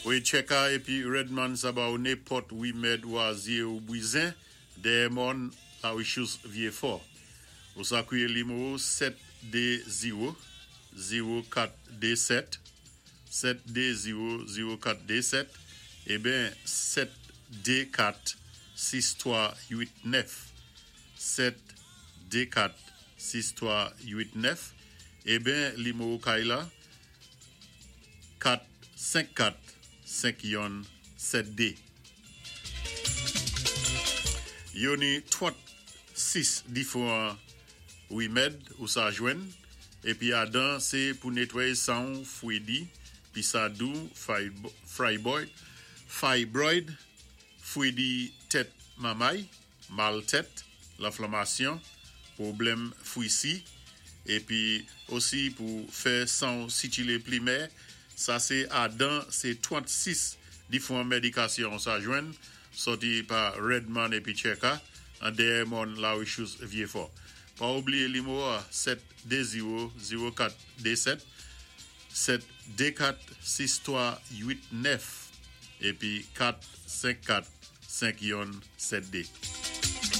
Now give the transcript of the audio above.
Wi, Cheka épi Redman sa ba ou nenpòt wimèd wazye ou bizwen, dèyè mòn La Richous Vyé-Fò. Ou sa kwiyé nimewo 720 0427, 720 0427 eben 724 6389, 724 6389, eben nimewo kay la 454 5172. Yo ni 36 diféwan wimèd ou sa jwenn épi adan sé pou netwayé san, fwédi, pisadou, fibroid, fibroid, fwédi tèt mamay, mal tèt, lanflanmasyon, pwoblèm fwisi, épi osi pou fè san sikilé pli mè. Sa sé adan sé 36 diféwan médikasyon sa jwenn sòti pa Redman épi Cheka an dèyè mòn La Richous Vyé-Fò. Pa oubliyé nimewo 720 0427, 724 6389 épi 454 5172.